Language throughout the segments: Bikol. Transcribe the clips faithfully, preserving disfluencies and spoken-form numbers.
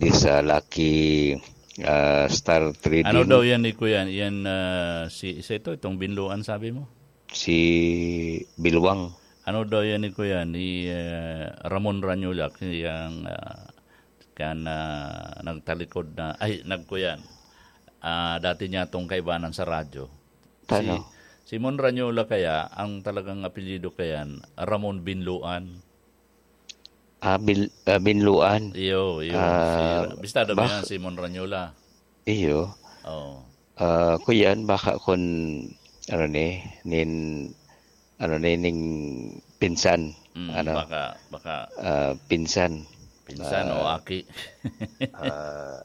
this, ah, Lucky, ah, Star Trading. Ano daw yan ni Kuya? Yan, ah, si, isa ito, itong Binluan, sabi mo? Si Bilwang. Ano daw yan ni Kuya? Ni, ah, Ramon Ranyulak, yang, ah, kan, ah, nagtalikod na, ay, nagkuyan. Ah, dati niya itong kaibanan sa radyo. Si, Tano? Si Mon Ranyulak kaya, ang talagang apelyido kayan, Ramon Binluan. Ah, Bil-, ah, Binluan. Iyo, iyo. Ah, Si, bistado mo bak- yan, si Mon Ranyula. Iyo. Oo. Ah, kuyan, baka kun, ano ni, nin, ano ni, ning pinsan. Mm, Ano? baka, baka Ah, pinsan. pinsan o Ah, aki. ah,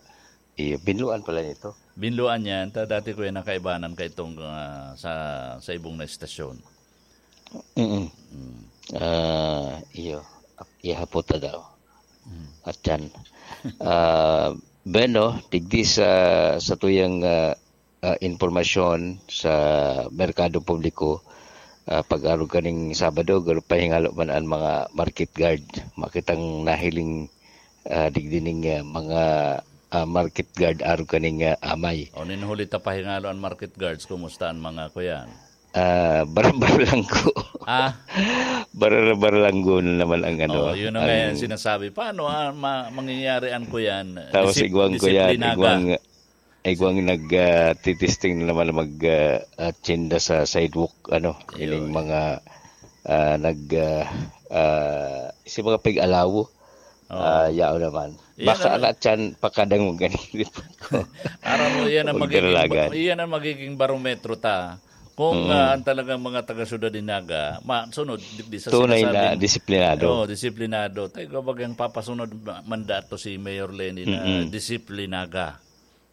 iyo, Binluan pala nito. Binluan yan. Ta, dati ko yan nakaibanan ka itong, ah, sa, sa ibong na estasyon. Mm. Mm. Ah, iyo. Ap-, ihapot na daw. Mm. At yan. Ah, bueno, digdi sa, sa tuyang, ah, ah, impormasyon sa merkado publiko, ah, pag-arog kaning Sabado, garo pahingalo man ang mga market guard. Makitang nahiling, ah, digdi ning, ah, mga, ah, market guard arog kaning, ah, amay. O, nin huli ta pahingalo ang market guards, kumusta ang mga kuyan? Ah, barbar lang ko. Ah? Barbar lang ko na naman ang ano, Oh, yun na nga ang yan sinasabi. Paano, ah, ma-, mangyayari ang kuyan? Tapos Disip-, igwang ko yan, disiplina ka. igwang, igwang nag, ah, titisting na naman mag, ah, ah, tsinda sa sidewalk, ano, Ayun. ining mga, ah, nag, ah, ah, si mga pig-alawo. Oo. Ah, yao naman. Yan Baka ang na tiyan pakadangog ang lipot ko. Aram mo, yan ang magiging ba-, Magdalagan. yan ang magiging barometro ta. Kung, Mm. ah, ang talagang mga taga-syudad ni Naga, masunod, di, di sa Tunay na sinasabing, disiplinado. Oo, disiplinado. Tayo, kumbaga, ang papasunod ma-, mandato si Mayor Lenny na Mm-mm. disiplinaga.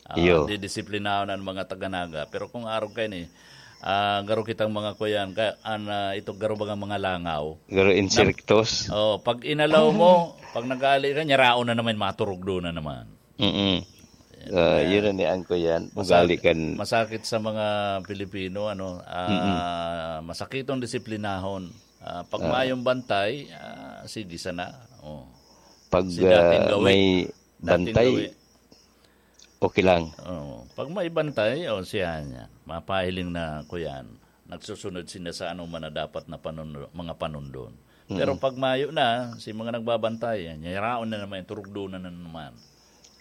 Ah, Iyo. didisiplinahon ang mga taga-Naga. Pero kung arog kayo ni, ah, garo kitang mga kuyan, ka, an, ah, ito garo bagang mga langaw. Garo Na, insektos. oh, pag inalaw mo, pag nag-aali ka, nyaraon na naman, maturog doon na naman. Mm-mm. Yan Ah, na. yun ang niyan ko yan. Ugali Masakit, kan masakit sa mga Pilipino, ano, ah, Mm-mm. masakit ang disiplinahon. Ah, pag Ah. mayong bantay, ah, sige sana. Oh. Pag, Si dating ah, gawi. may Dating bantay, gawi. okay lang. Oo. Pag may bantay, o siya niya, mapahiling na ko yan. Nagsusunod sila sa ano man na dapat na panundo-, mga panundon. Pero Mm. pag mayo na, si mga nagbabantay, yan, yaraon na naman, turugdo na, na naman.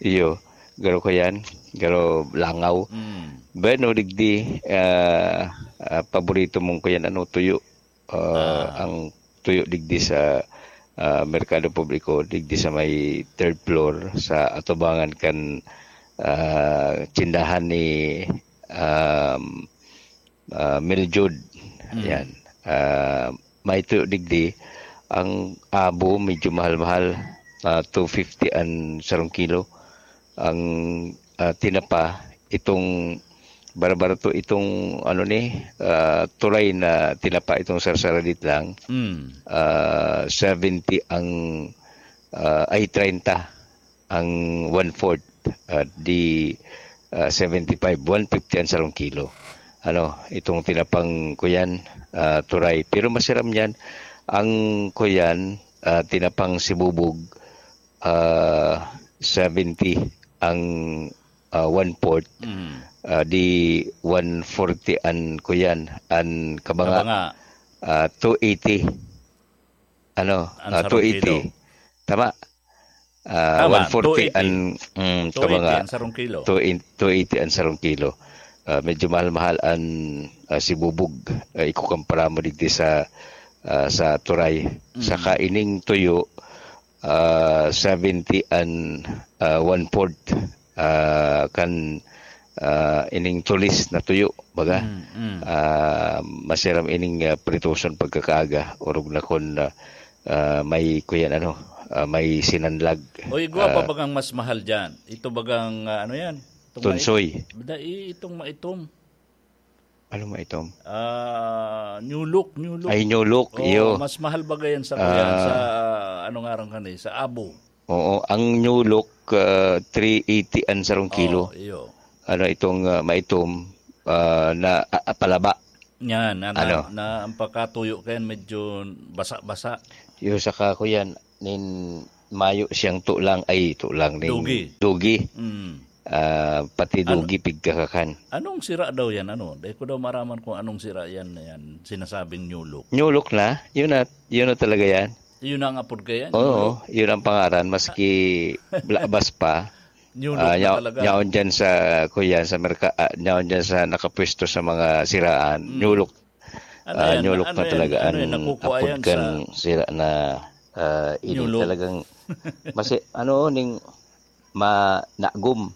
Iyo, garo ko yan, garo langaw. Mm. Bueno, digdi, ah, ah, paborito mong ko yan, ano, tuyo. Ah, Ah. ang tuyo digdi sa, ah, merkado publiko, digdi sa may third floor, sa atubangan kan, ah, tsindahan ni, um, ah, Mildred. Mm. Yan. Ah, may tuyo digdi. Ang abo, medyo mahal-mahal. Ah, two fifty an sarong kilo. Ang, ah, tinapa, itong barbarato, itong ano ni, ah, turay na tinapa, itong sarsaradit lang, Mm. ah, seventy ang, ah, ay, treinta ang one-fourth, ah, di, ah, seventy-five, one fifty ang sarong kilo. Ano, itong tinapang ko yan, ah, turay. Pero masiram yan, ang ko yan, ah, tinapang sibubog, ah, seventy ang, ah, one-fourth, Mm. ah, di one forty an kuyan, an kabanga, Kabanga. ah, two eighty. Ano, Ang ah, sarong two eighty. kilo. Tama. Ah, Tama, one forty two eighty. an, mm, Two eighty kabanga. ang sarong kilo. Two in-, two eighty ang sarong kilo. Ah, medyo mahal-mahal an, ah, sibubog. Ah, ikukumpara mo digdi sa, ah, sa turay. Mm. Saka ining tuyo, ah, seventy an, ah, one-fourth, ah, kan, ah, ining tulis na tuyo, baga. Mm, mm. Ah, masiram ining, ah, pritoson pagkakaaga, orog na kun, ah, ah, may kuyan, ano, ah, may sinanlag. O, igwa pa Ah. bagang mas mahal dyan? Ito bagang, ah, ano yan? Itong Tunsoy. mait-, da-, i-, itong maitom. Ano maitom? Ah, new look, new look. Ay, new look, Oo, iyo. mas mahal baga yan sa kuyan, Ah. sa, ano nga rin kani, sa abo. Oo, ang new look, ah, three eighty an sarong kilo. Oo, iyo. Ano itong, ah, maitom, ah, na, ah, ah, palaba. Yan, na, na, Ano? na ang pagkatuyo kayan medyo basa-basa. Iyo, saka ko yan, nin, mayo siyang tulang, ay, tulang ning Dugi. dugi. Mm. Ah, pati Ano? dugi pigkakakan. Anong sira daw yan? Ano? Dahil ko daw maraman kung anong sira yan, yan sinasabing New Look. New Look na? Yun na, yun na talaga yan? Yun ang apod kaya? Oo, yun ang pangaran. Maski labas pa. New Look Ah, na yaw- talaga. yaon dyan sa, kuya, sa merka-, ah, yaon dyan sa nakapwesto sa mga siraan. Mm. New Look. Ano Ah, yan? New Look Ano na yan? talaga Ano ang yan? Nakukuha apod yan kan sa sira na, ah, ini New Look? talagang masi-, ano, ning ma-, nagum.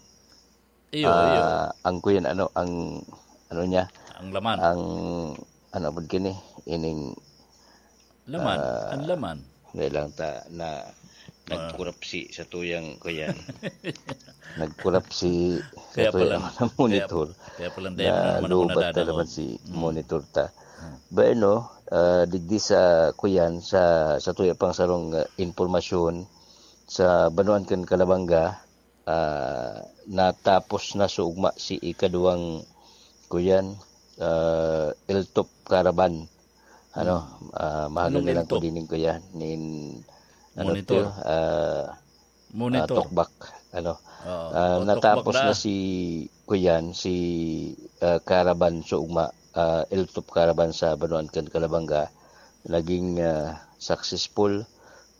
Iyo, iyo. Ah, ang kuyan, ano, ang, ano niya, Ang laman. ang, ano, apod kini, ining, Laman. ah, Ang laman. Ngayon lang ta na Ah. nagkurapsi sa tuyang kuyan. Nagkurapsi sa Kaya tuyang pala, mga kaya, monitor. kaya pala, hindi mo Na naman ako lubat na nadanaw. naman si Mm. monitor ta. Mm. Bueno, ah, digdi sa kuyan, sa, sa tuya pang sarong, ah, impormasyon, sa Banuan kan Calabanga, ah, natapos na sa ugma si ikaduwang, kuyan, ah, Eltop Caravan. Ano, Hmm. ah, mahal Anong na lang ko Eltop? Dining, kuyan, nin, ano Monitor. to, ah, ah, Monitor. Tokbak. Ano, Oo. Ah, O, natapos tokbak na na. si, kuyan, si, ah, Caravan sa ugma, ah, Eltop Caravan sa Banuan kan Calabanga. Naging, ah, successful,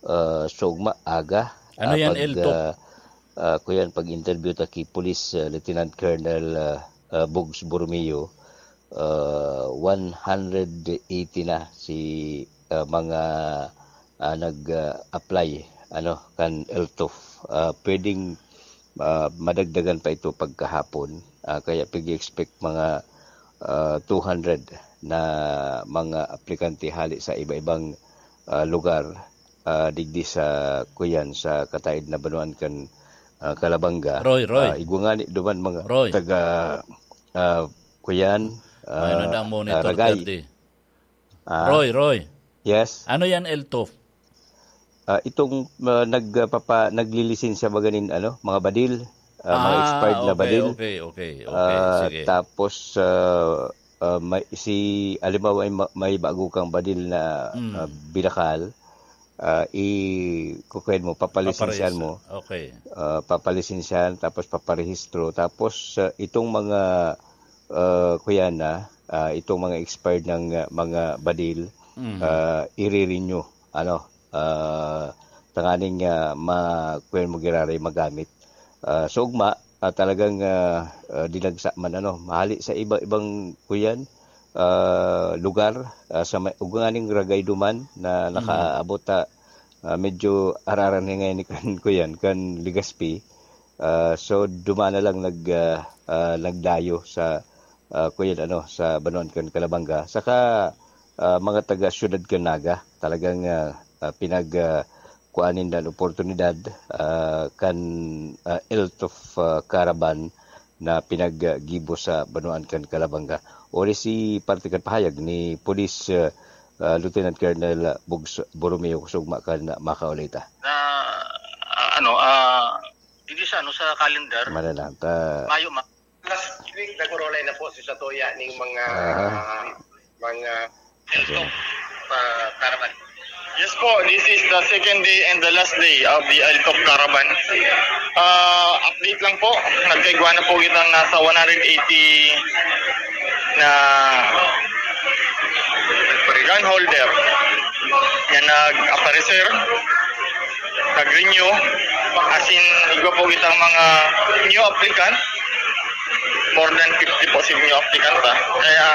ah, sa ugma, aga. Ano Ah, yan, pag, Eltop? ah, ah, kuyan, pag-interview ta ki Police, ah, Lieutenant Colonel, ah, ah, Bugs Borromeo, ah, one hundred eighty na si, ah, mga, ah, nag, ah, apply, ano, kan Eltop. Ah, pwedeng, ah, madagdagan pa ito pagkahapon. Ah, kaya pag-expect mga, ah, two hundred na mga aplikante hali sa iba-ibang, ah, lugar, ah, digdi sa, kuyan, sa kataed na Banuan kan, ah, Calabanga. Roy, Roy. Ah, igwa ngani duman mga Roy. taga, ah, kuyan, May ah, nadang monitor ah, Ragay. thirty. Ah. Roy, Roy. Yes. Ano yan, Eltop? Ah, itong, ah, nagpapa-, naglilisensya ba ganin, ano, mga badil, ah, mga Ah, expired na okay, badil. okay, okay, okay. Ah, Sige. tapos, ah, ah, may, si, halimbawa, may ma-, may bago kang badil na, Mm. ah, binakal, ah, i-, kukuhen mo, papalisensyaan Paparehistro. mo. Okay. Ah, papalisensyaan, tapos paparehistro. Tapos, ah, itong mga, ah, kuya na, ah, itong mga expired ng, ah, mga badil, Mm. ah, ire-renew. Ano, ah, tanganing, ah, ma-, kuwan mo giraray magamit. Ah, sa ugma, ah, talagang, ah, ah, dinagsa man, ano, mahali sa iba-ibang kuyan, ah, lugar, ah, sa may, ug nganing Ragay duman na Mm. nakaabot ta, ah, medyo araran ni ngayon ni kan kuyan, kan Legazpi. Ah, so, duman na lang nag, ah, ah, nagdayo sa, ah, kuyan, ano, sa Banuan kan Calabanga. Saka, ah, mga taga Siyudad kan Naga, talagang, ah, ah, pinag, ah, kuan ninda an oportunidad, ah, kan, ah, Eltop, ah, Caravan na pinaggibo sa Banuan kan Calabanga. Ori si parte kan pahayag ni Police, ah, ah, Lieutenant Colonel Bugs Borromeo, kusog ma-, kan makaulay ta. Na, ah, ano, ah, digdi sa, ano, sa calendar, Manalang ta. Mayo, ma-, Last week, nag-urulay na po si Satoya ning mga, Aha. ah, mga Okay. Eltop, ah, caravan. Yes po, this is the second day and the last day of the Eltop caravan. Ah, update lang po, nagkaigwa na po kitang nasa one hundred eighty na gun holder na nag-aparecer, nag-renew, as in, igwa po kitang mga new applicant, more than fifty po si new applicant, ah. Kaya,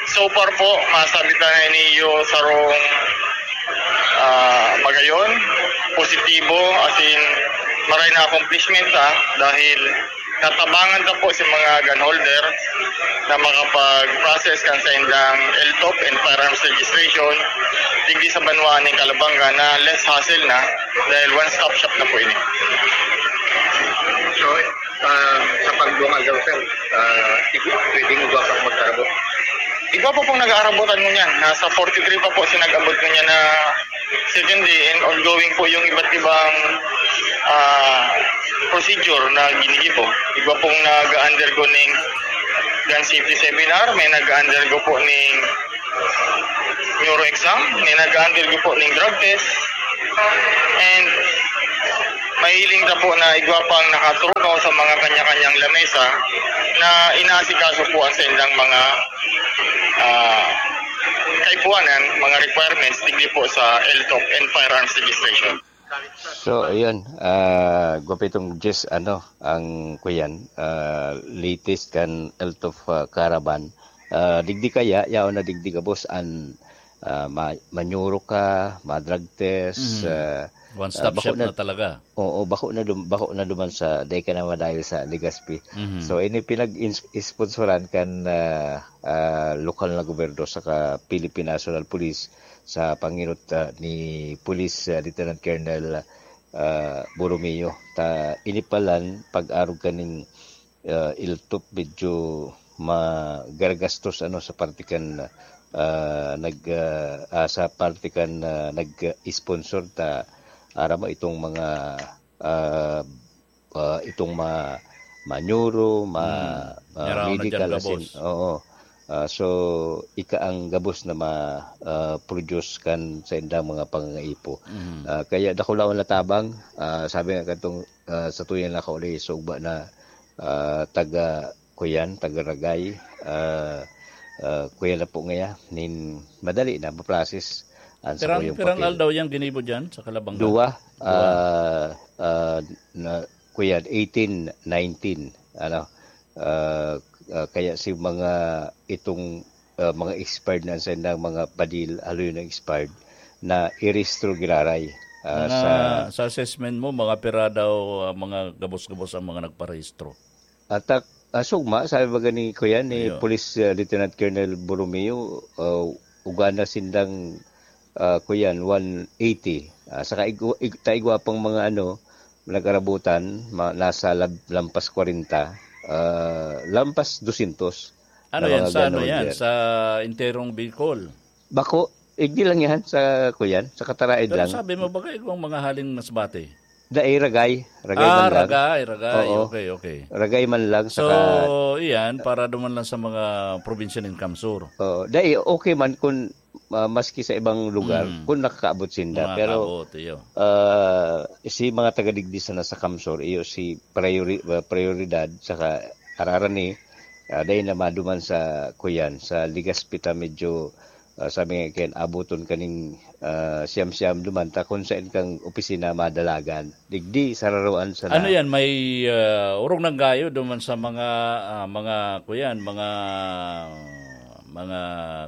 so far po, masabi ta na ini yung sarong, ah, magayon, positibo, as in, maray na accomplishment, ah, dahil natabangan ta po si mga gun holder na makapag-process kan saindang Eltop and firearms registration digdi sa banwaan ning Calabanga na less hassle na dahil one-stop shop na po ini. So, ah, sa pagdungal daw, sir, ah, igu-, pwedeng igwa pang mag-arabot? Igwa po pong nag-aarabotan ngunyan. Nasa forty-three pa po si nag-abot ngunyan na second day and ongoing po yung iba't ibang, ah, procedure na ginigibo. Igwa pong nag-undergo ning gun safety seminar, may nag-undergo po ning neuro exam, may nag-undergo po ning drug test, and Mahiling na po na igwa pang nakaturunaw sa mga kanya-kanyang lamesa na inaasikaso po ang saindang mga, ah, kaipuanan, mga requirements, digdi po sa L T O P and Firearms Registration. So, ayun, ah, gwapitong Jess, ano, ang kuyan, ah, latest kan L T O P, ah, Caravan. Ah, digdi kaya, yaon na digdi gabos, an, ah, ma-, manyuro ka, ma-drug test, Mhm. ah, One-stop ah, bako shop na na talaga. Oo, bako na dum-, bako na duman sa, dai ka na madayo sa Legazpi. Mhm. So, ini pinag-ins-, sponsoran kan, ah, ah, lokal na gobyerno saka Philippine National Police sa panginot, ah, ni Police, ah, Lieutenant Colonel, ah, Borromeo. Ta, ini palan, pag-arog kaning, ah, L T O P, medyo magaragastos, ano, sa parte kan, ah, nag, ah, ah, sa parte kan, ah, nag-sponsor ta, aram mo, itong mga, ah, ah, itong ma-, manyuro, ma-, Hmm. ah, Yara na medical, dyan, asin, gabos. Oo. Ah, so, ika ang gabos na ma-, ah, produce kan sa indang mga pangangaipo. Mhm. Ah, kaya dakulaon na tabang, ah, sabi nga katong, ah, sa tuyan na kauli, sugba na, ah, taga, kuyan, taga Ragay, ah, ah, kuyan na po ngaya, nin madali na, maprocess ang Pirang, sakuyang pirang papel. Aldaw yang ginibo dyan sa Kalabanga? Dua, Dua. ah, ah, na, kuyan, eighteen nineteen, ano, ah, ah, kaya si mga itong, ah, mga expired na sa mga badil, haloy na expired, na irehistro giraray, ah, Mga, sa sa assessment mo, mga pira daw, ah, mga gabos-gabos ang mga nagparehistro? Atak, ah, sugma, sabi ba gani, kuyan, ni Iyo. Police, ah, Lieutenant Colonel Borromeo, ah, ugana sindang, ah, kuyan, one eighty. Ah, saka igwa-, ig-, ta igwa pang mga ano, nag-arabutan, ma-, nasa lab-, lampas kwarenta, ah, lampas dosyentos Ano na yan? mga Sa ano ganun yan? yan. Sa enterong Bicol? Bako, igdi lang yan sa, kuyan, sa Kataraid Pero lang. sabi mo, baka igwang mga haling Masbate? Dai, Ragay. Ragay Ah, man lang. Ragay, Ragay. Oo. Okay, okay. Ragay man lang, So, saka iyan, para duman lang sa mga probinsya nin Kamsur. Oo. Dai, okay man kung, ah, maski sa ibang lugar, Mm. kung nakakaabot sinda. Pero, Nakakaabot, iyo. ah, si mga taga digdi sana sa Kamsur, iyo si priori-, ah, prioridad, saka ararani, ah, dai na maduman sa kuyan, sa Legazpi ta medyo, ah, sabi nga ken, aboton kaning, ah, siyam-siyam duman ta kun saen kang opisina madalagan. Digdi, sararoan sana. Ano yan? May, ah, orog nang gayo duman sa mga, ah, mga, kuyan, mga, mga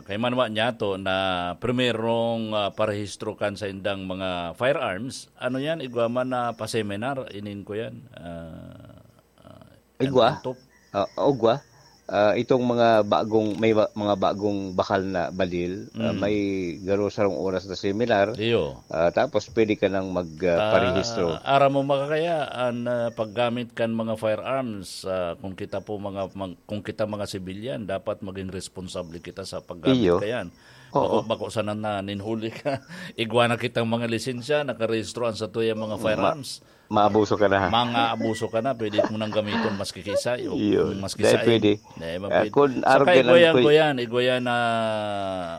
kaimanwa niyato na primerong, ah, parehistro kan saindang mga firearms. Ano yan? Igwa man na pa-seminar, inin ko yan. Ah, ah, Igwa? Ang top. Ah, ugwa. Ah, itong mga bagong, may ba-, mga bagong bakal na badil, ah, Mm. may garo sarong oras na seminar. Iyo. Ah, tapos pwede ka nang mag, ah, Ah, parehistro. aram mo, makakaya, an, ah, paggamit kan mga firearms, ah, kung kita po mga, mag-, kung kita mga sibilyan, dapat maging responsable kita sa paggamit Iyo. kayan. Oo. Bako, bako sana na ninhuli ka. Igwa na kitang mga lisensya, nakarehistro ang satuya mga Ma-, firearms. Maabuso ka na. Mga abuso ka na, pwede mo nang gamiton maski kiisay o Iyo. kung maski Dahil sain. pwede. Dahil Ah, mapwede. kun Sa arog ka lang, kaigwayan, kuy- kuyan, igwayan na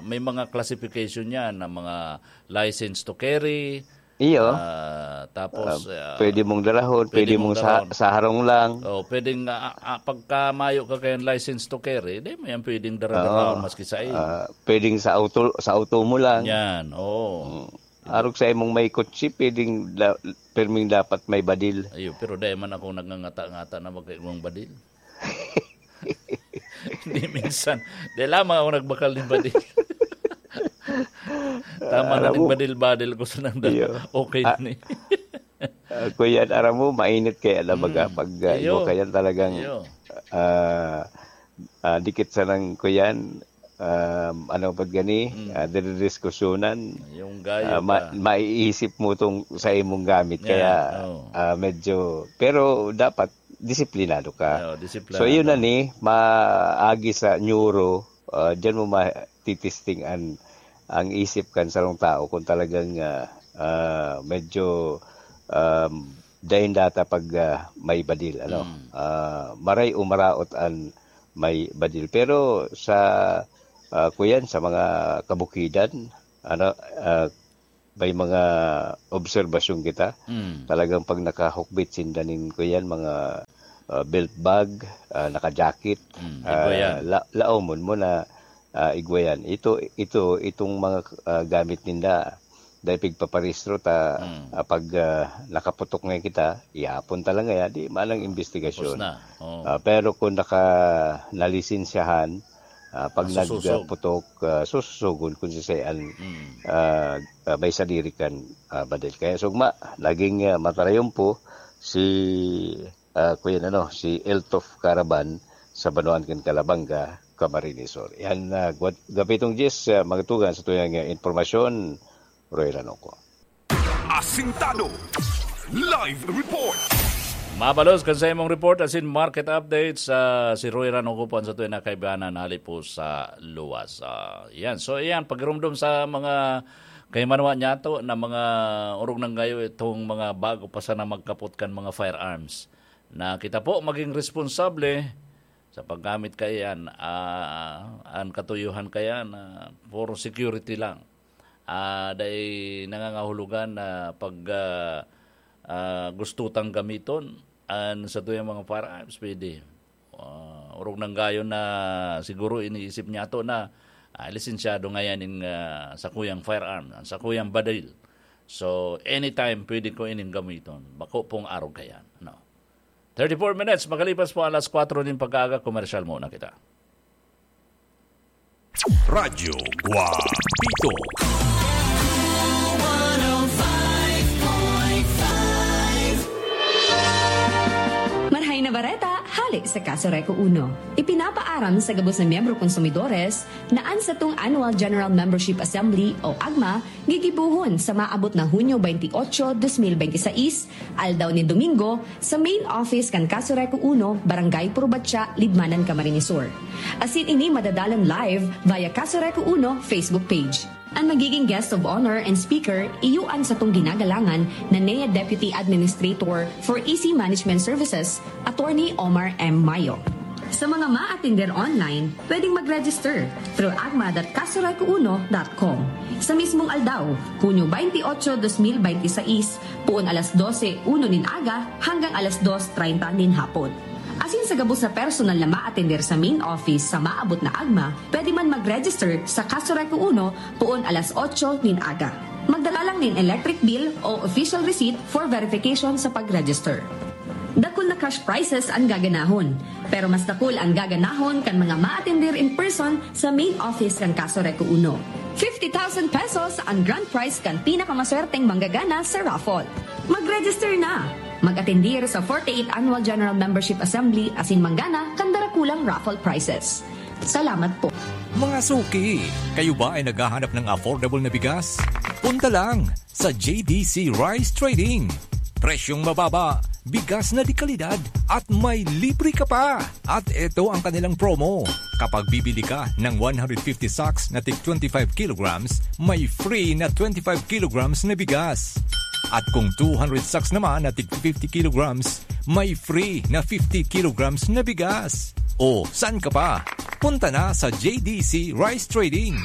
may mga classification yan, na mga license to carry. Iyo. Ah, tapos, Ah, ah, pwede mong darahon, pwede pwede mong mong sa-, darahon. saharong lang. Oh, pwedeng, ah, ah, pagka mayo ka kayang license to carry, di mo yan pwedeng darahon Oo. maski sain. Ah, pwedeng sa auto, sa auto mo lang. Yan, oo. Mm. Arog sa imong may kotse, pwedeng da-, perming dapat may badil. Ayo, pero dai man ako nagngangata-ngata na magkaigwang badil. Hindi minsan. Dai lamang ako nagbakal nin badil. Tama na Alam ning mo, badil-badil ko sa nang iyo. Okay Ah, na ni. Ah, kuya, aram mo, mainit kaya na baga Mm. pag, ah, Iyo. iwa kaya talagang, Iyo. ah, ah, dikit sa nang, kuyan, um, ano pag gani, Mm. ah, dinidiskusyonan, Yung gayo ah, ma-, pa. maiisip mo tong sa imong gamit. Yan, Kaya, oo. ah, medyo, pero dapat disiplinado ka. Oo, disiplinado. So, yun na ni, maagi sa neuro, ah, diyan mo matitisting an, ang isip kan sarong tao kung talagang, ah, ah, medyo, um, dayon data pag, ah, may badil, ano? Mm. Ah, maray o maraot an may badil. Pero sa, ah, kuyan, sa mga kabukidan, ano, ah, may mga obserbasyon kita. Mm. Talagang pag nakahukbit sinda nin, kuyan, mga, ah, belt bag, ah, naka-jacket, Mm, ah, igwa yan. la-, laomon mo na, ah, igwa yan. Ito, ito, itong mga, ah, gamit ninda, dahil pigpaparehistro ta, Mm. ah, pag, ah, nakaputok ngayon kita, ihapon ta lang ngayon, di manang Tapos investigasyon. na. Oo. Ah, pero kung naka-, nalisensyahan, ah, pag Masusosog. nagputok, ah, sususogon kung siisay an, Mm. ah, ah, may sadiri kan, ah, badil. Kaya sugma, naging, ah, matarayon po si, ah, kuya, ano, si Eltof Caravan sa Banwaan kan Calabanga, Camarines Sur. Yan, ah, gwat-, gabitong Jis, ah, mga tugang sa tuyang, ah, impormasyon, Roy Ranoco. Asintado. Live report. Mabalos kan sa imong report asin market updates, ah, si Roy Ranoco po an sa tuya na kaibanan hali po sa luwas. Ah, yan. So, yan, pagirumdom sa mga kaimanwa niyato na mga orog nang gayo itong mga bago pa sana magkapot kan mga firearms. Na kita po maging responsable sa paggamit kaiyan, ah, an katuyuhan kaiyan, ah, for security lang. Ah, dai nangangahulugan na pag, ah, ah, gusto tang gamiton an satuyang mga firearms, pwede. Ah, orog nang gayo na siguro iniisip niyato na, ah, lisensyado ngayan nin, ah, sakuyang firearm, an sakuyang badil. So, anytime pwede ko ining gamiton. Bako pong arog kaiyan, no? Thirty-four minutes, makalipas po alas kwatro nin pagkaaga, komersyal muna kita. Radyo Guapito. Marhay na bareta, hale sa Kaso Reco Uno. Ipinapaaram sa gabos na miyembro konsumidores na an satong Annual General Membership Assembly o agma gigibohon sa maabot na Hunyo twenty-eight, twenty twenty-six, aldaw nin Domingo, sa main office kan Kaso Reco Uno, Barangay Purbatya, Libmanan, Camarines Sur. Asin ini madadalan live via Kaso Reco Uno Facebook page. An magiging guest of honor and speaker, iyo an satong ginagalangan na N E A Deputy Administrator for E C Management Services, Attorney Omar M. Mayo. Sa mga maatender online, pwedeng mag-register through agma dot kasoreco uno dot com. Sa mismong aldaw, Hunyo twenty-eight, twenty twenty-six, poon alas dose uno nin aga hanggang alas dos treinta nin hapon. Asin sa gabos na personal na maatender sa main office sa maabot na agma, pwede man mag-register sa Kaso Reco Uno poon alas otso nin aga. Magdala lang nin electric bill o official receipt for verification sa pag-register. Dakul na cash prizes an gaganahon, pero mas dakul an gaganahon kan mga maatender in person sa main office kan Kaso Reco Uno. Fifty thousand pesos an grand prize kan pinakamaswerteng manggagana sa raffle. Mag-register na! Mag-atendir sa forty-eighth Annual General Membership Assembly asin manggana kan darakulang raffle prizes. Salamat po. Mga suki, kayo ba ay naghahanap ng affordable na bigas? Punta lang sa J D C Rice Trading. Presyong mababa, bigas na de kalidad, at may libre ka pa! At eto ang kanilang promo. Kapag bibili ka ng one hundred fifty sacks na tig twenty-five kilograms, may free na twenty-five kilograms na bigas. At kung two hundred sacks naman na tig fifty kilograms, may free na fifty kilograms na bigas. O, saan ka pa? Punta na sa J D C Rice Trading.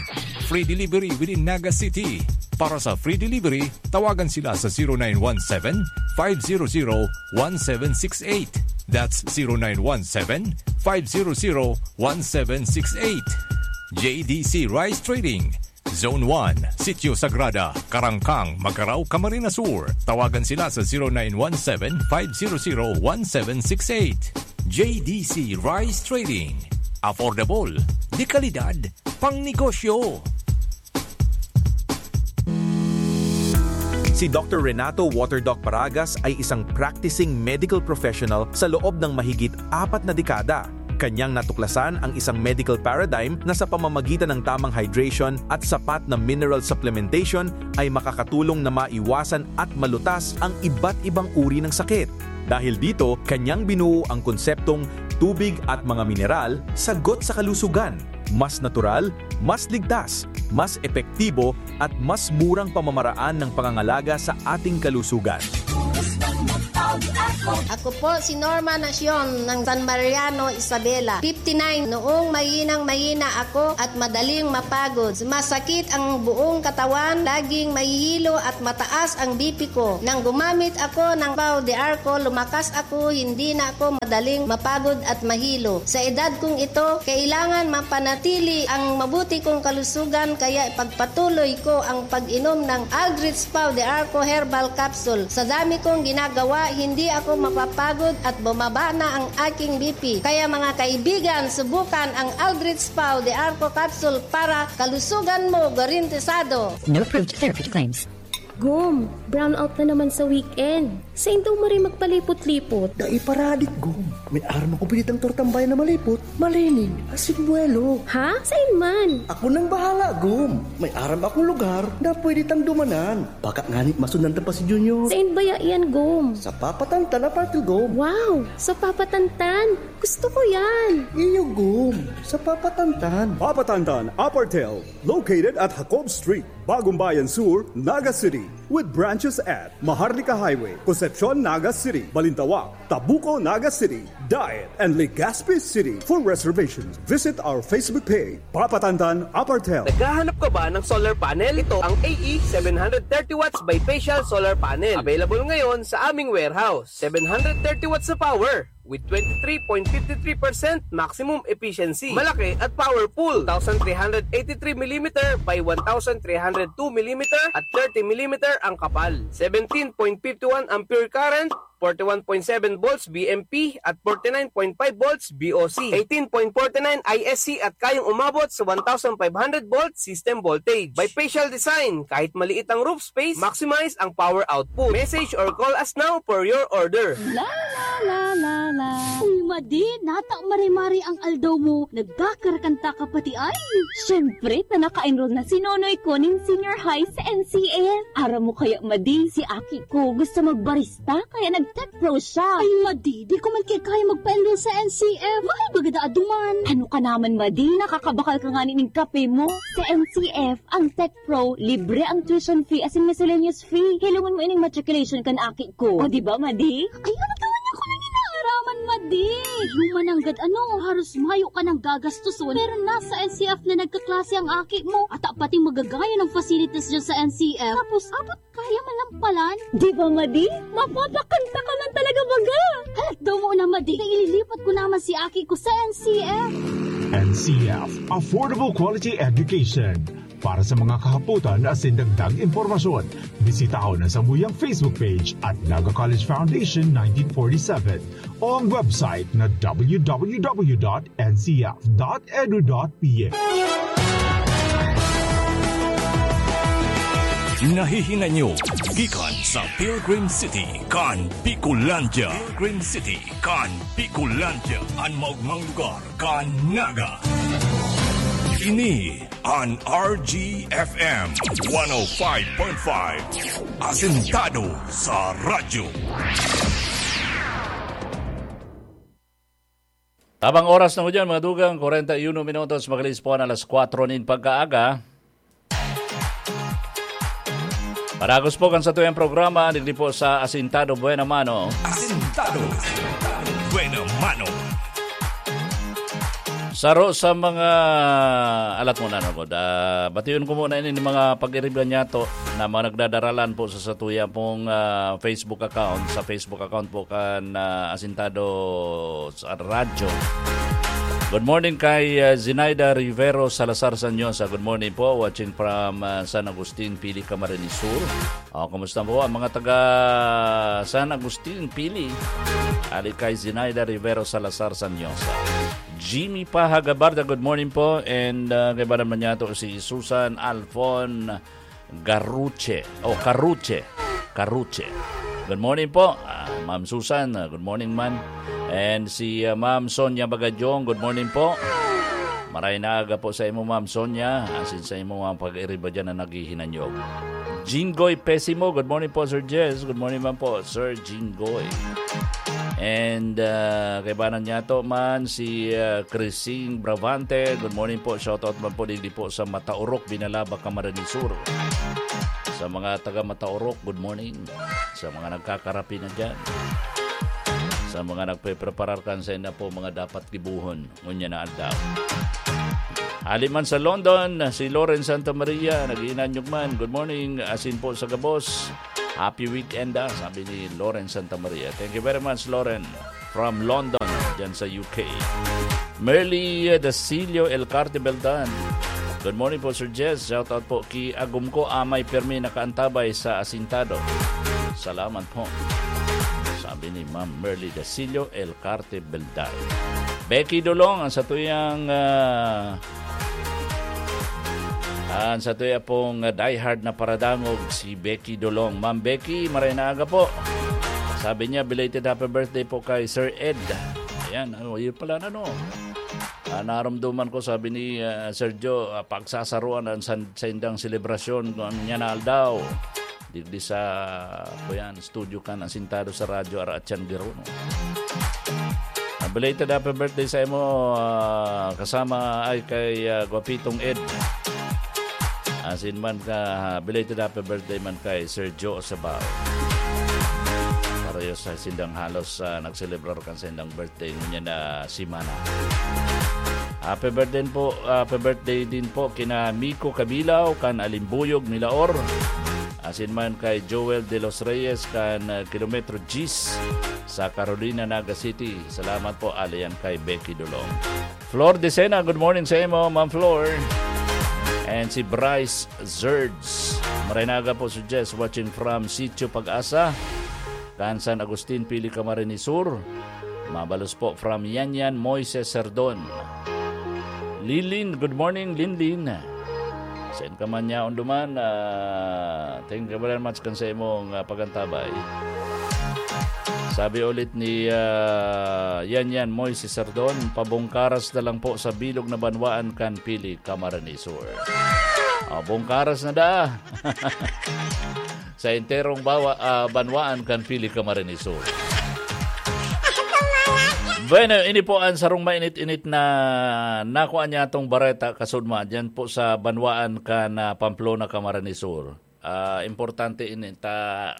Free delivery within Naga City. Para sa free delivery, tawagan sila sa zero nine one seven, five zero zero, one seven six eight. That's zero nine one seven, five zero zero, one seven six eight. J D C Rice Trading, Zone one, Sitio Sagrada, Carangcang, Magarao, Camarines Sur. Tawagan sila sa zero nine one seven, five zero zero, one seven six eight. J D C Rice Trading. Affordable, de kalidad, pang negosyo. Si Doctor Renato Waterdoc Paragas ay isang practicing medical professional sa loob ng mahigit apat na dekada. Kanyang natuklasan ang isang medical paradigm na sa pamamagitan ng tamang hydration at sapat na mineral supplementation ay makakatulong na maiwasan at malutas ang iba't ibang uri ng sakit. Dahil dito, kanyang binuo ang konseptong tubig at mga mineral, sagot sa kalusugan. Mas natural, mas ligtas, mas epektibo, at mas murang pamamaraan ng pangangalaga sa ating kalusugan. Ubus ng butog at Ako po si Norma Nacion ng San Mariano, Isabela. Fifty-nine, noong mahinang-mahina ako at madaling mapagod. Sumasakit ang buong katawan, laging mahihilo at mataas ang B P ko. Nang gumamit ako ng Pau de Arco, lumakas ako, hindi na ako madaling mapagod at mahilo. Sa edad kong ito, kailangan mapanatili ang mabuti kong kalusugan, kaya ipagpatuloy ko ang pag-inom ng Aldrich Pau de Arco Herbal Capsule. Sa dami kong ginagawa, hindi ako mapapagod at bumaba na ang aking B P. Kaya mga kaibigan, subukan ang Aldrich Pau de Arco Capsule para kalusugan mo garantisado. No approved therapy claims. Gom, brownout na naman sa weekend. Sain daw maray magpalipot-lipot? Dai pa radik, Gom. May aram akong pinitang tortang bayan na malipot, malinig, asin buwelo. Ha? Sain man? Ako nang bahala, Gom. May aram akong lugar na pwede tang dumanan. Baka ngani masundan ta pa si Junior. Sain baya yan, Gom? Sa Papatantan, Apartel, Gom. Wow! Sa Papatantan? Gusto ko yan! Iyo, Gom. Sa Papatantan. Papatantan, Apartel, located at Jacob Street, Bagumbayan Sur, Naga City, with branches at Maharlika Highway, Concepcion, Naga City, Balintawak, Tabuco, Naga City, Daet, and Legazpi City. For reservations, visit our Facebook page, Papatantan Apartel. Naghahanap ka ba ng solar panel? Ito ang A E seven hundred thirty watts bifacial solar panel. Available ngayon sa aming warehouse. Seven hundred thirty watts na power with twenty-three point fifty-three percent maximum efficiency. Malaki at powerful. Two thousand three hundred eighty-three millimeter by one thousand three hundred two millimeter at thirty millimeter ang kapal. Seventeen point fifty-one ampere current, forty-one point seven volts V M P at forty-nine point five volts V O C, eighteen point forty-nine I S C at kayang umabot sa one thousand five hundred volt system voltage. Bifacial design, kahit maliit ang roof space, maximize ang power output. Message or call us now for your order. La, la, la, la, la. Uy, Madi, nata mare-mare ang aldaw mo. Nagkakarakanta ka pati ay. Siyempre, ta naka-enroll na si Nonoy ko nin senior high sa N C F. Aram mo kaya, Madi, si aki ko gusto magbarista, kaya nag-tech pro siya. Ay, Madi, di ko man kaya magpa-enroll sa N C F. Mahal baga daa duman. Ano ka naman, Madi? Nakakabakal ka ngani nin kape mo. Sa N C F, ang tech pro, libre ang tuition fee asin miscellaneous fee. Hilongon mo ining matriculation kan aki ko. O, di ba, Madi? Ay, ano ka man ako nang inaaraman, Madi? Human nanggad ano, haros mayo ka nang gagastoson. Pero nasa N C F na nagkaklase ang aki mo. At pati magagaya ng facilities dyan sa N C F. Tapos, abot kaya man lang palan. Di ba, Madi? Mapapakanta ka man talaga baga. Halat daw mo na, Madi. Ililipat ko naman si aki ko sa N C F. N C F, Affordable Quality Education. Para sa mga kahapotan asin dagdag impormasyon, bisitahon ang samuyang Facebook page at Naga College Foundation nineteen forty-seven o ang website na w w w dot n c f dot edu dot p h. Nahihinanyog gikan sa Pilgrim City kan Bicolandia. Pilgrim City kan Bicolandia, an maogmang lugar kan Naga. Ini an R G F M one oh five point five, asentado sa radyo. Tabang oras na mo dyan, mga dugang, kwarenta y uno minutos, magalis po na alas kwatro nin pagkaaga. Paragos po kan satuyang programa, digdi po sa Asintado Buena Mano. Asintado Buena Mano. Saro sa mga alat mo na, no, Gud? Ah, bation ko muna ini mga pag-iriba niyato na mga nagdadaralan po sa satuya pong, ah, Facebook account. Sa Facebook account po kan, ah, Asintado sa radyo. Good morning kay, ah, Zinaida Rivero Salazar Sanyosa. Good morning po. Watching from, ah, San Agustin, Pili, Camarines Sur. Oh, kumusta po ang mga taga San Agustin, Pili? Ali kay Zinaida Rivero Salazar Sanyosa. Jimmy Paha Gabarda, good morning po. And, ah, kaiba naman niya to si Susan Alfon Garuche. Oh, Karuche. Karuche. Good morning po, ah, Ma'am Susan. Ah, good morning man. And si, ah, Ma'am Sonia Bagadyong, good morning po. Maray na aga po sa imo, Ma'am Sonia. Asin sa imo mga pag-iriba dyan na naghihinanyog. Jinggoy Pesimo, good morning po, Sir Jez. Good morning man po, Sir Jinggoy. And, ah, kaibanan niya to man, si, ah, Crising Bravante. Good morning po. Shoutout man po digdi po sa Mataorok, Binalaba, Camarines Sur. Sa mga taga Mataorok, good morning. Sa mga nagkakarapi na dyan. Sa mga nagpepreparar kan sainda po mga dapat gibohon ngunyan na aldaw. Hali man sa London, si Lauren Santa Maria, nag-iinanyog man. Good morning, asin po sa gabos. Happy weekend, ah, sabi ni Lauren Santa Maria. Thank you very much, Lauren, from London, dyan sa U K. Merly Dasilio El Carte Beldan. Good morning po, Sir Jess. Shout out po ki Agum ko, amay permi nakaantabay sa asintado. Salamat po. Sabi ni Ma'am Merly Dasilio El Carte Beldan. Becky Dolong, ang satuyang, ah, ang satuya pong, ah, diehard na paradangog, si Becky Dolong. Ma'am Becky, maray na aga po. Sabi niya, belated happy birthday po kay Sir Ed. Ayan, ano, yun pala na, no? Ah, naramdaman ko, sabi ni, ah, Sergio, ah, pagsasaruan ang san-, saindang selebrasyon, kung ano niya na aldaw. Digdi sa, kuyan, studio kan asintado sa radyo, Ara at Changgiro, no? Ah, belated happy birthday sa imo, ah, kasama ay kay, ah, Guapitong Ed. Asin man ka, ah, belated happy birthday man kay Sergio Osabao. Pareho sa sindang halos, ah, nagselebrar kan sindang birthday ngunyan na semana. Happy birthday po, happy birthday din po kina Miko Kabilaw, kan Alimbuyog, Milaor. Asin man kay Joel De Los Reyes, kan, ah, Kilometro Gis sa Carolina, Naga City. Salamat po, ali yan kay Becky Dolong. Flor Decena, good morning sa imo, Ma'am Flor. And si Bryce Zerds. Maray na aga po, Sir Jess, watching from Sitio Pag-asa, kan San Agustin, Pili, Camarines Sur. Mabalos po from Yanyan Moises Serdon. Lilin, good morning, Linlin. Saan ka man yaon duman, ah, thank you very much kan sa imong, ah, pagantabay. Sabi ulit ni, ah, Yanyan Moises Sardon, "Pabungkaras na lang po sa bilog na banwaan kan Pili, Camarines Sur." Oh, bungkaras na da. Sa enterong bawa, ah, banwaan kan Pili, Camarines Sur. Bueno, ini po ang sarong mainit-init na nakuha niya atong bareta, kasudma, diyan po sa banwaan kan, ah, Pamplona, Camarines Sur. Ah, importante ini ta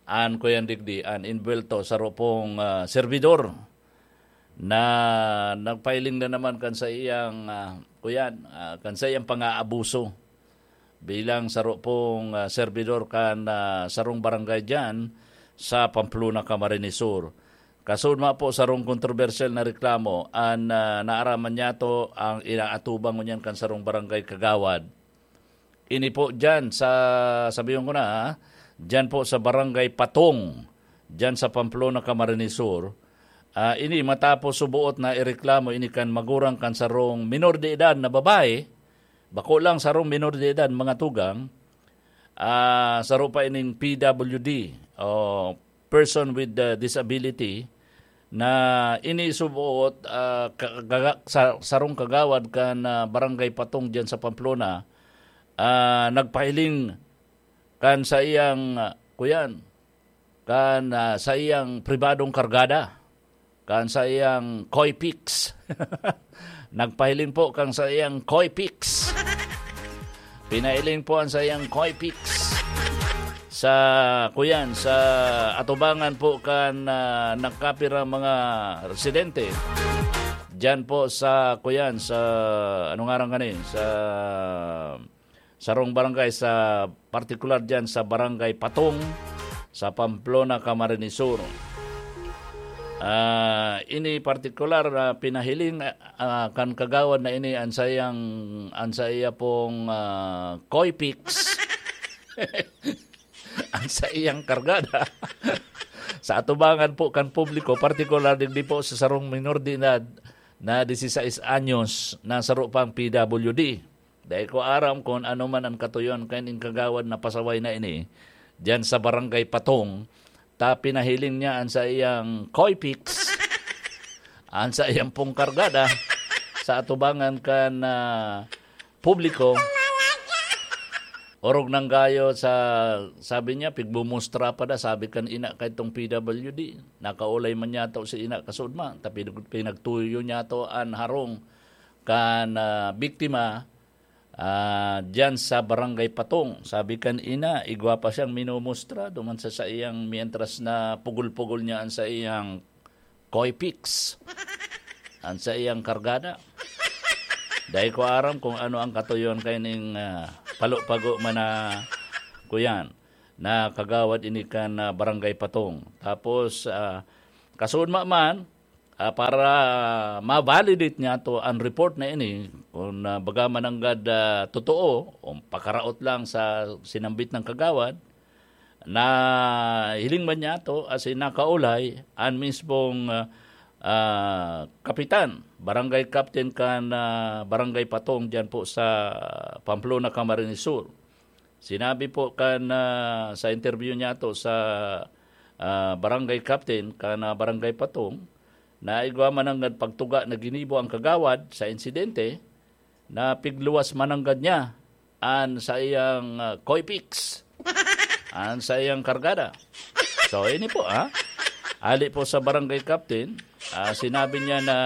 an kuyan digdi, an inbuwelto saro pong, ah, serbidor na nagpahiling na naman kan sa iyang, ah, kuyan, ah, kan sa iyang pang-aabuso bilang saro pong, ah, serbidor kan, ah, sarong barangay diyan sa Pamplona, Camarines Sur. Kasudma po sarong kontrobersyal na reklamo an, ah, naaraman niyato ang inaatubang ngunyan kan sarong barangay kagawad. Ini po diyan sa, sabihon ko na, ha, diyan po sa Barangay Patong, diyan sa Pamplona, Camarines Sur. Ah, ini matapos suboot na ireklamo ini kan magurang kan sarong minor de edad na babae, bako lang sarong minor de edad, mga tugang, ah, saro pa ining P W D o person with, ah, disability, na ini suboot, ah, ka-, gaga-, sa, sarong kagawad kan, ah, Barangay Patong diyan sa Pamplona, ah, nagpahiling kan sa iyang, ah, kuyan, kan, ah, sa iyang pribadong kargada, kan sa iyang Koipix. Nagpahiling po kan sa iyang Koipix. Pinahiling po ang sa iyang Koipix sa, kuyan, sa atubangan po kan, ah, nagkapirang mga residente. Diyan po sa, kuyan, sa, ano nga ngaran gani, sa sarong barangay, sa partikular diyan sa Barangay Patong, sa Pamplona, Camarines Sur. Ah, ini partikular na pinahiling, ah, kan kagawad na ini ang sayang, ang saya pong, ah, Koipix. Ang saiyang kargada. Sa atubangan po kan publiko, partikular digdi po sa sarong minor de edad na dieciséis anyos na saro pang P W D. Dai ko aram kun ano man an katuyoan kaining kagawad na pasaway na ini, diyan sa Barangay Patong, ta pinahiling niya an saiyang Koipix, an saiyang pong kargada, sa atubangan kan, ah, publiko. Orog nang gayo sa, sabi niya, pigmumustra pa da, sabi kan ina kaitong P W D. Nakaulay man niyato si ina kasudma, ta pinag-, pinagtuyo niyato an harong kan, ah, biktima, ah, diyan sa Barangay Patong. Sabi kan ina, igwa pa siyang minumustra duman sa saiyang, mientras na pugol-pugol niya an saiyang Koipix an saiyang kargada. Dai ko aram kung ano ang katuyon kaining, ah, palupago man na kuyan, na kagawad ini kan, ah, Barangay Patong. Tapos, ah, kasuodma man, ah, para ma-validate niyato an report na ini, kung, ah, baga mananggad, ah, totoo o pakaraot lang sa sinambit ng kagawad, na hiling man niyato, as in, nakaulay an mismong, ah, ah, kapitan, barangay captain kan, ah, Barangay Patong diyan po sa Pamplona, Camarines Sur. Sinabi po kan, ah, sa interview niyato sa, ah, barangay captain kan, ah, Barangay Patong, na igwa man nanggad pagtuga na ginibo ang kagawad sa insidente, na pigluwas mananggad niya an saiyang, ah, Koipix, an saiyang kargada. So, ini po, ha? Ali po sa barangay captain, ah, sinabi niya na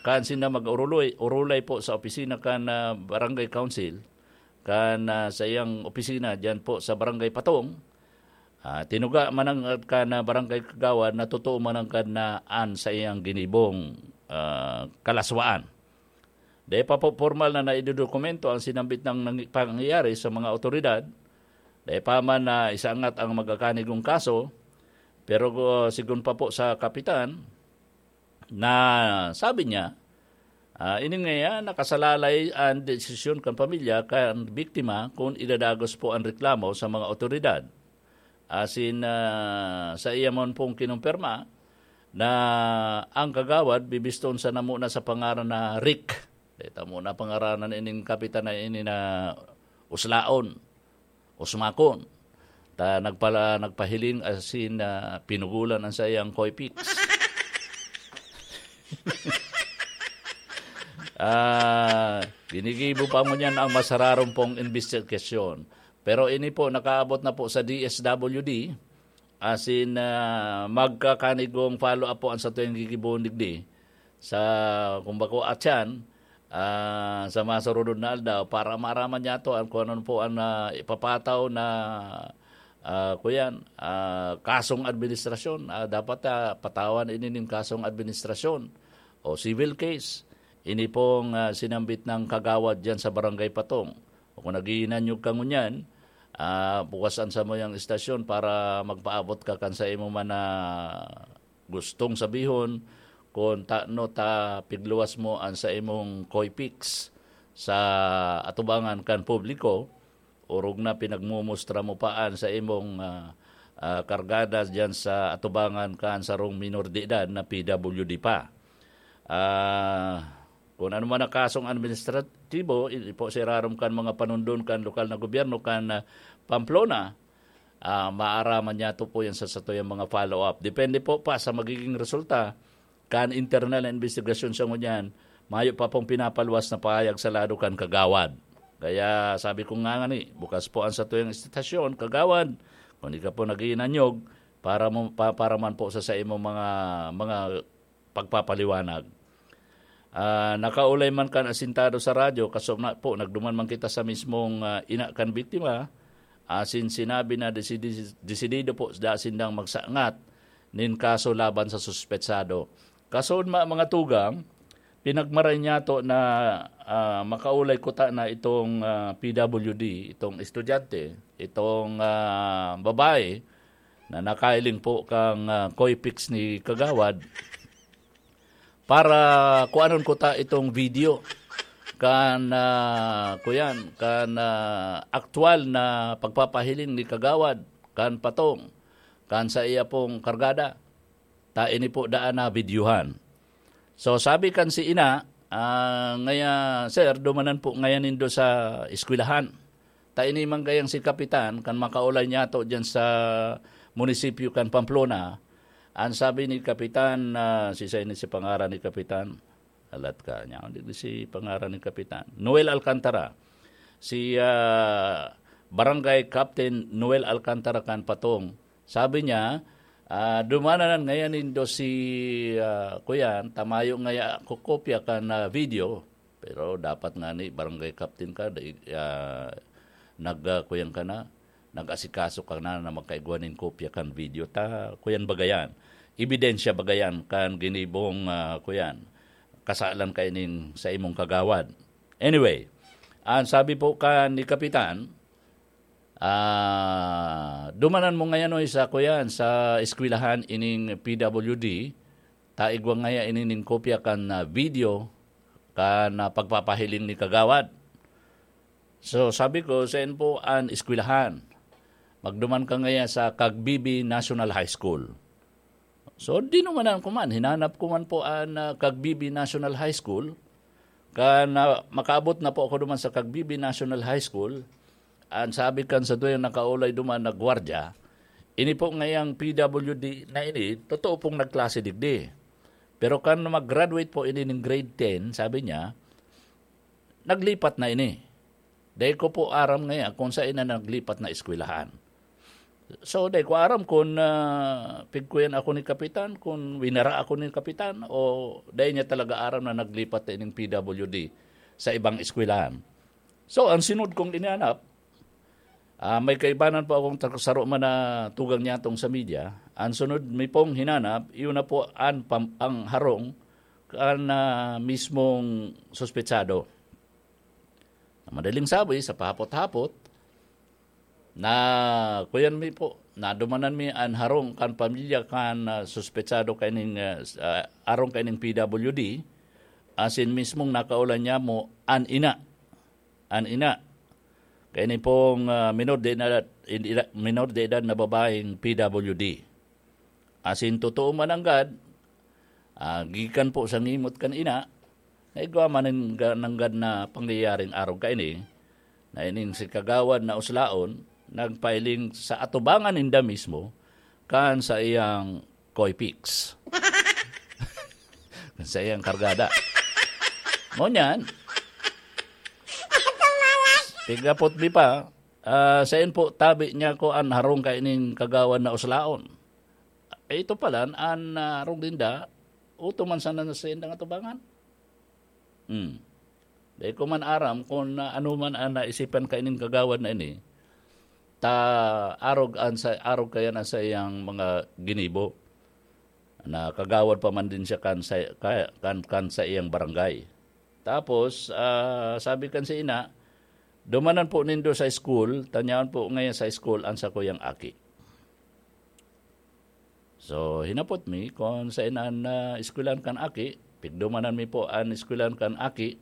kansin na mag-urulay, urulay po sa opisina kan, ah, barangay council, kan, ah, saiyang opisina diyan po sa barangay Patong. Ah, tinuga mananggad kan, ah, barangay kagawad na totoo mananggad na an saiyang ginibong, ah, kalaswaan. Dai pa po pormal na naidodokumento ang sinambit ng nangi-, pangyayari sa mga awtoridad. Dai pa man na isaangat ang magakanigong kaso, pero, uh, sigon pa po sa kapitan, na sabi niya, ah, ini ngaya nakasalalay an desisyon kan pamilya kan biktima kun idadagos po an reklamo sa mga awtoridad. Asin, ah, sa iya man pong kinumpirma na ang kagawad bibiston sana muna sa pangaran na Rick. Dai ta muna pangaranan ining kapitan na ini na uslaon, usmakon. Ta nagpala-, nagpahiling asin, ah, pinugulan an saiyang Koipix. Ah, ginigibo pa ngunyan ang masararumpong imbestigasyon. Pero ini po, nakaabot na po sa D S W D, asin, ah, magkakanigong follow-up po an satuyang gigibohon digdi sa, kung bako atyan, ah, sa masurunod na aldaw para maaraman niyato an kung ano po an, ah, ipapataw na, ah, kuyan, ah, kasong administrasyon. Ah, dapat, ah, patawan ini nin kasong administrasyon o civil case. Ini pong, ah, sinambit ng kagawad diyan sa Barangay Patong. O kung naghihinanyog ka ngunyan, ah, bukas an samuyang istasyon para magpaabot ka kan sa imo man na gustong sabihon, kun tano ta pigluwas mo an sa imong Koipix sa atubangan kan publiko, orog na pinagmumustra mo pa an sa imong, ah, ah, kargada diyan sa atubangan kan sarong minor de edad na P W D pa. Ah, kun ano man na kasong administratibo, i-, po sa irarom kan mga panundon kan lokal na gobyerno kan, ah, Pamplona, ah, maaraman niyato po yan sa satuyang mga follow-up. Depende po pa sa magiging resulta kan internal na investigasyon sa ngunyan, mayo pa pong pinapaluwas na pahayag sa lado kan kagawad. Kaya sabi ko nga ngani, bukas po ang satuyang istasyon, kagawad, kung di ka po naghihinanyog, para mo, pa, para man po sa, sa imong mga, mga pagpapaliwanag. Ah, nakaulay man kan asintado sa radyo, kaso na po, nagduman man kita sa mismong, ah, ina kan biktima, asin sinabi na desidi-, desidido po da sindang magsangat nin kaso laban sa suspetsado. Kaso ma-, mga tugang, pinagmaray niyato na, ah, makaulay kuta na itong, ah, P W D, itong estudyante, itong, ah, babae na nakailing po kang, ah, Koipix ni Kagawad, para kuanon ko ta itong video kan, ah, kuyan, kan, ah, aktual na pagpapahiling ni Kagawad kan Patong, kan sa iya pong kargada. Ta ini po daan na videohan. So, sabi kan si ina, ah, ngaya, "Sir, dumanan po ngaya nindo sa eskwelahan." Ta ini man gayang si Kapitan, kan makaulay niyato diyan sa munisipyo kan Pamplona, an sabi ni Kapitan, ah, si, sa ini si pangaran ni Kapitan, alat ka niya, hindi si pangaran ni Kapitan, Noel Alcantara. Si, ah, Barangay Captain Noel Alcantara kan Patong. Sabi niya, ah, "Dumananan ngaya nindo si, ah, kuyan, ta mayo ngaya ko kopya kan, ah, video." Pero dapat nga ni barangay captain ka, dai, ah, nag, ah, kuyan ka na, nag-asikaso ka na, na magkaigwa nin kopya kan video. Ta, kuyan bagayan. ebidensya baga yan kan ginibong, ah, kuyan, kasalan kaining sa imong kagawad. Anyway, ang sabi po kan ni Kapitan, ah, "Dumanan mo ngayon, oy, sa kuyan, sa eskwelahan ining P W D, ta igwa ngaya ini ning kopya kan, ah, video kan, ah, pagpapahiling ni kagawad." So, sabi ko, "Saan po an eskwelahan?" "Magduman ka ngaya sa Cagbibi National High School." So, dinumanan ko man, hinanap ko man po an, ah, Cagbibi National High School. Kan, ah, makaabot na po ako duman sa Cagbibi National High School, an sabi kan saduyang nakaulay duman na gwardiya, "Ini po ngayang P W D na ini, totoo pong nagklase digdi. Pero kan mag-graduate po ini ning grade ten," sabi niya, "naglipat na ini." Dai ko po aram ngaya kung saen na naglipat na eskwelahan. So, dai ko aram kun, ah, pigkuyan ako ni kapitan, kun winara ako ni kapitan, o dai niya talaga aram na naglipat na ining P W D sa ibang eskwelahan. So, ang sunod kong inanap, ah, may kaibanan po akong tak-, saro man na tugang niya tong sa media. Ang sunod mi pong hinanap, iyon na po an pam-, ang harong kan, ah, mismong suspetsado. Madaling sabi, sa pahapot-hapot, na kuyan mi po, nadumanan mi an harong kan pamilya kan, ah, suspetsado kaining, ah, s-, ah, arong kaining P W D, asin mismong nakaulay niya mo an ina, an ina. Kaini pong, ah, minor de edad, minor de edad na babaeng P W D. Asin totoo man nanggad, ah, gikan po sa ngimot kan ina, naigwa man nin ga-, nanggad na pangyayaring arog kaini, na ining si Kagawad na Uslaon, nagpahiling sa atubangan ninda mismo, kan saiyang Koy Pix. Kan saiyang kargada. Ngunyan, pigapot mi pa, ah, saen po tabi niya ko an harong kaining Kagawad na Uslaon. Eh, ito pala, an, ah, harong ninda, uto man sana na saindang atubangan. Hmm. Dai ko man aram kun, ah, ano man an naisipan kaining kagawad na ini, ta arog an sa, arog kaya na sa iyang mga ginibo. Na kagawad pa man din siya kan sa, ka-, kan, kan sa iyang barangay. Tapos, ah, sabi kan si ina, "Dumanan po nindo sa school, tanyaon po ngayon sa school an sakuyang aki." So, hinapot mi kun saen an, ah, eskwelahan kan aki. Pigdumanan mi po an eskwelahan kan aki,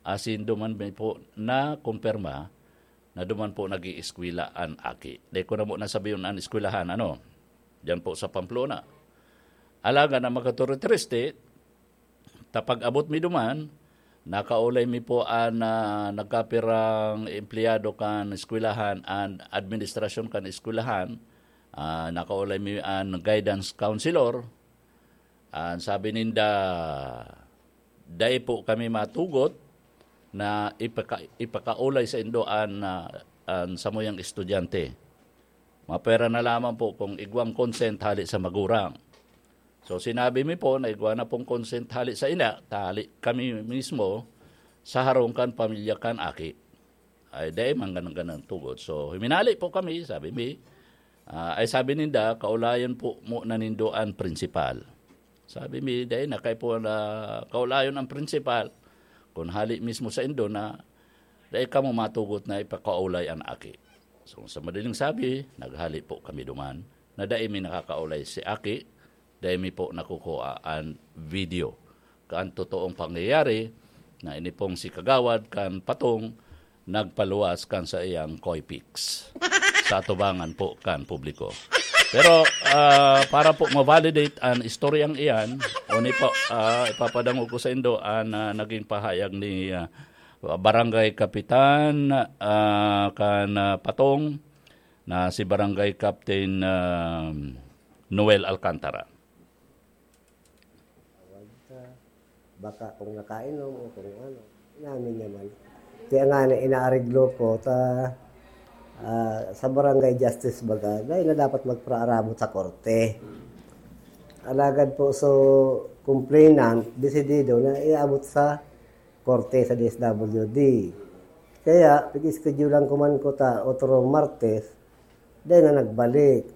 asin duman mi po nakumpirma na duman po nag-ieskwela an aki. Dai ko na mo nasabihon an eskwelahan, ano, diyan po sa Pamplona. Alagad ang makaturittriste, ta pag-abot mi duman, nakaulay mi po an, ah, nagkapirang empleyado kan eskwelahan, an administrasyon kan eskwelahan, ah, nakaulay mi an guidance counselor. An sabi ninda, dai po kami matugot na ipaka-, ipakaulay saindo an, ah, an samuyang estudyante. Mapwera na lamang po kung igwang consent hali sa magurang. So, sinabi mi po na igwa na pong consent hali sa ina, ta hali kami mismo sa harong kan pamilya kan aki. Ay, dai man ganang-ganang tugot. So, huminali po kami, sabi mi. Ah, ay, sabi ninda, "Kaulayan po mo na nindo an prinsipal." Sabi mi, "Dai na, kay po na kaulayon an prinsipal. Kun hali mismo saindo na, dai kamo matugot na ipakaulay an aki." So, sa madaling sabi, naghali po kami duman, na dai mi nakakaulay si aki, dai mi po nakukuha an video kan totoong pangyayari na ini pong si Kagawad kan Patong nagpaluwas kan saiyang Koy Pix sa atubangan po kan publiko. Pero, ah, para po ma-validate an istoryang iyan, o ni po, ah, ipapadangog ko saindo an, ah, naging pahayag ni, ah, Barangay Kapitan, ah, kan, ah, Patong, na si Barangay Captain, ah, Noel Alcantara. Baka kung nakainom o kung ano, inamin niya man. Kaya nga na inaareglo ko, ta, ah, sa barangay justice baga, dahil na dapat magpaarabot sa korte. Alagad po, so, complainant, desidido na iabot sa korte sa D S W D. Kaya, pag-schedulean ko man ko ta otro Martes, dahil na nagbalik.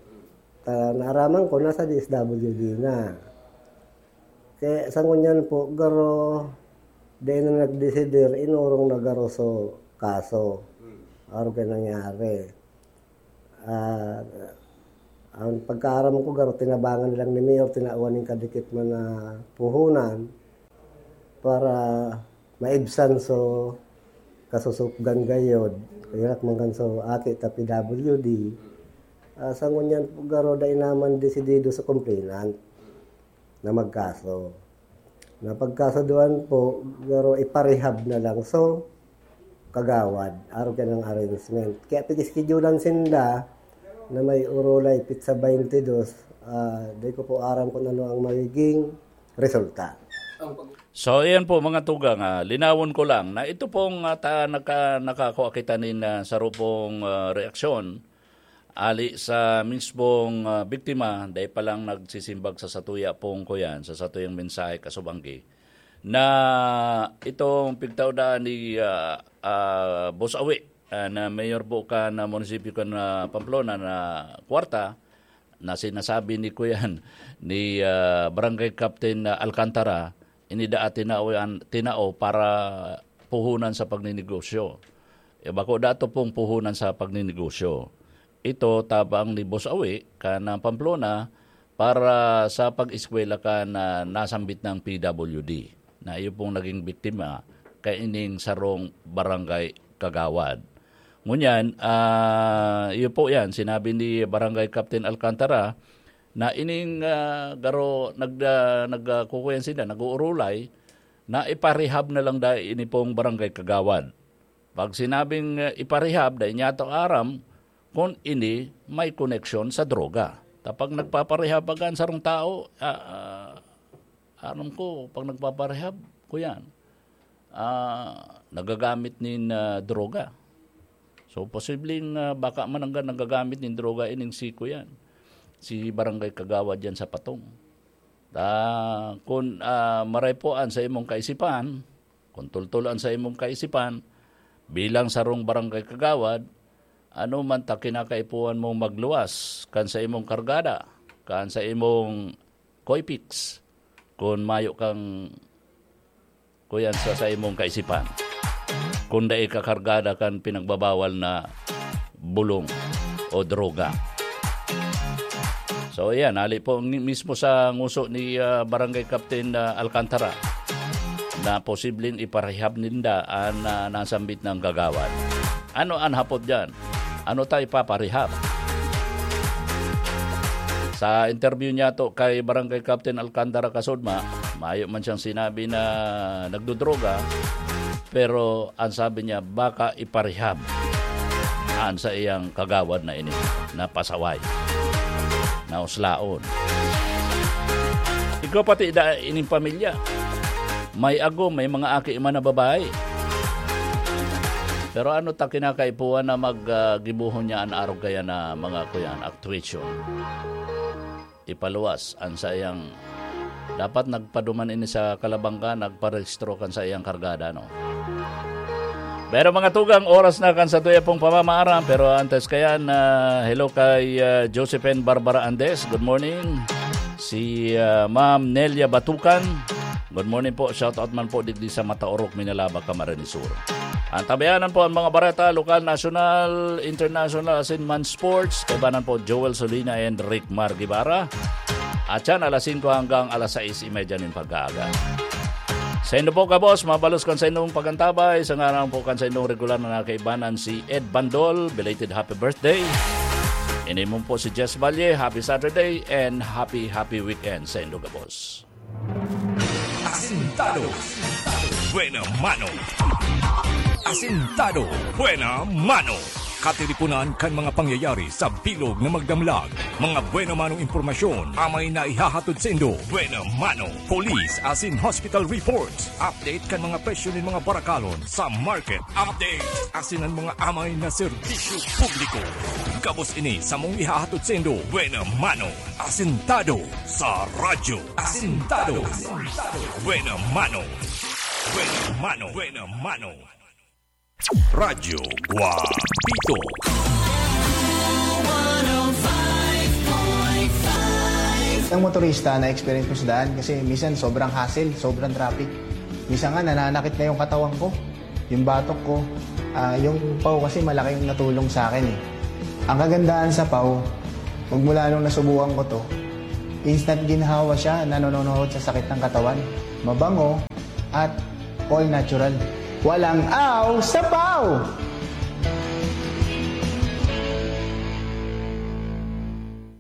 Ah, naaraman ko, nasa D S W D na. Kaya sa ngunyan po, garo, dai na nagdesidir, inorong na garo so kaso. Arog kay nangyari. Ah, ang pagkaaram ko, garo, tinabangan nilang ni Mayor, tinawan ning kadikit man na puhunan para maibsan so kasusupgan gayod. Kaya man kan so aki ta P W D. Ah, sa ngunyan po, garo, dai naman desidido sa complainant na magkaso. Na pagkasaduan po, garo, iparehab na lang. So, kagawad, arog kay nang arrangement. Kaya pag-schedulean sinda na may urulay, petsa twenty-two, ah, di ko po aram kung ano ang magiging resulta. So, iyan po, mga tugang, ah, linawon ko lang na ito pong, ah, ta-, naka-, nakakua kita nin, ah, saro pong, ah, reaksyon ali sa mismong, ah, biktima, dai pa lang nagsisimbag sa satuya pong kuyan, sa satuyang mensahe kasubanggi, na itong pigtao daan ni, ah, ah, Boss Awi, ah, na mayor po kan, ah, munisipyo kan, ah, Pamplona na kwarta, na sinasabi ni kuyan, ni, ah, Barangay Captain, ah, Alcantara, ini daa tinao yan, tinao para puhunan sa pagninegosyo. E, bako dato pong puhunan sa pagninegosyo. Ito tabang ni Boss Awi, kan Pamplona, para sa pag-eskwela kan, ah, nasambit na P W D, na iyo pong naging biktima, kaining sarong barangay kagawad. Ngunyan, ah, iyo po yan, sinabi ni Barangay Captain Alcantara na ining, ah, garo nag-, ah, nag-, ah, kukuyan sila, nag-uurulay, na iparehab na lang dai ini pong barangay kagawad. Pag sinabing, ah, iparehab, dai niya to aram kung ini may koneksyon sa droga. Ta pag nagpaparehab baga an sarong tao, ah, ah, aram ko, pag nagpaparehab, kuyan, ah, nagagamit nin, ah, droga. So, posibleng, ah, baka man hanggang nagagamit nin droga ining si kuyan, si barangay kagawad yan sa Patong. Ta kun, ah, maray po an sa imong kaisipan, kun tultol an sa imong kaisipan, bilang sarong barangay kagawad, ano man ta kinakaipuhan mong magluwas kan sa imong kargada, kan sa imong Coipex, kun mayo kang kuyan sa, sa imong kaisipan, kun dai ka kargada kan pinagbabawal na bulong o droga. So, ayan, hali po ni-, mismo sa nguso ni, ah, Barangay Captain, ah, Alcantara na posibleng iparehab ninda an, ah, nasambit na kagawad. Ano an hapot diyan? Ano ta ipaparehab? Sa interview niya to kay Barangay Captain Alcantara Kasudma, mayo man siyang sinabi na nagdodroga, pero ang sabi niya, baka iparehab an sa iyang kagawad na ini, na pasaway, na uslaon. Ikaw pati da ining pamilya, may agom, may mga aki man na babae. Pero ano ta kinakaipuhan na mag, ah, gibohon niya an arog kaya na mga kuyan, actuation? Ipaluwas an saiyang, dapat nagpaduman ini sa Calabanga, nagparehistro kan saiyang kargada, no? Pero mga tugang, oras na kan sa tuya pong pamamaaram. Pero antes kayan, ah, hello kay, ah, Josephine Barbara Andes. Good morning. Si, ah, Ma'am Nelia Batukan. Good morning po. Shout out man po digdi sa Mataorok, Minalaba, Camarines Sur. Ang tabayanan po ang mga bareta, lokal, nasyonal, international, asin man sports. Kaibanan po Joel Solina and Rick Mar Guevara. At yan, alas singko hanggang alas sais y media nin pag-aaga. Saindo po, kabos, mabalos kan saindong pagantabay. Sa ngaran po kan saindong regular na kaibanan, si Ed Bandol, belated happy birthday. Inimon po si Jess Valle, happy Saturday and happy, happy weekend saindo, kabos. Asintado. Buena mano. Asintado. Buena mano. Katiriponan kan mga pangyayari sa bilog na magdamlag. Mga buena manong impormasyon, amay na ihahatod saindo. Buena mano. Police asin hospital reports. Update kan mga presyo nin mga barakalon sa market. Update asin an mga amay na serbisyo publiko. Gabos ini samong ihahatod saindo. Buena mano. Asintado sa radyo. Asintado. Buena mano. Buena mano. Buena mano. Radyo Guapito. Ang motorista na experience ko sa daan kasi minsan sobrang hassle, sobrang traffic. Minsan nga nananakit na yung katawan ko, yung batok ko. Ah, yung pau kasi malaking natulong sa akin eh. Ang kagandahan sa pau, magmula nung nasubukan ko to, instant ginhawa siya, nanononohod sa sakit ng katawan. Mabango at all natural. Walang aw sa pau!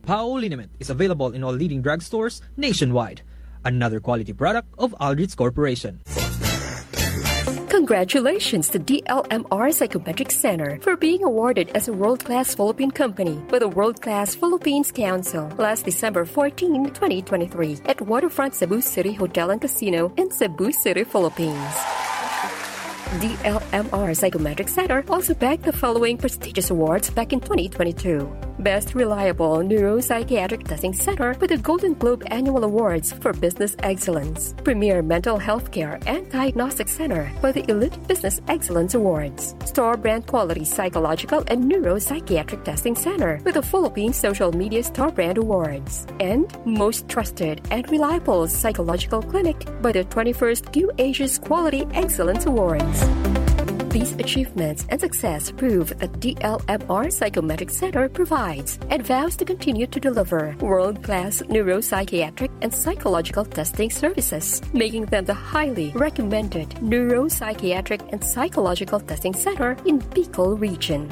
Pau liniment is available in all leading drugstores nationwide. Another quality product of Aldrich Corporation. Congratulations to D L M R Psychometric Center for being awarded as a world-class Philippine company by the World Class Philippines Council last December fourteen, twenty twenty-three, at Waterfront Cebu City Hotel and Casino in Cebu City, Philippines. D L M R Psychometric Center also bagged the following prestigious awards back in twenty twenty-two. Best Reliable Neuropsychiatric Testing Center with the Golden Globe Annual Awards for Business Excellence. Premier Mental Health Care and Diagnostic Center for the Elite Business Excellence Awards. Store Brand Quality Psychological and Neuropsychiatric Testing Center with the Philippine Social Media Store Brand Awards. And most trusted and reliable psychological clinic by the twenty-first Q Asia's Quality Excellence Awards. These achievements and success prove that D L M R Psychometric Center provides and vows to continue to deliver world-class neuropsychiatric and psychological testing services, making them the highly recommended neuropsychiatric and psychological testing center in Bicol region.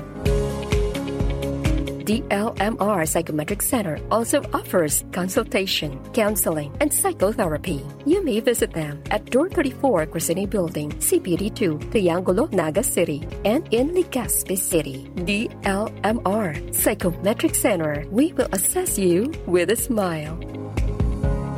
D L M R Psychometric Center also offers consultation, counseling, and psychotherapy. You may visit them at Door thirty-four, Crescene Building, C P D two, Triangulo, Naga City, and in Legazpi City. D L M R Psychometric Center. We will assess you with a smile.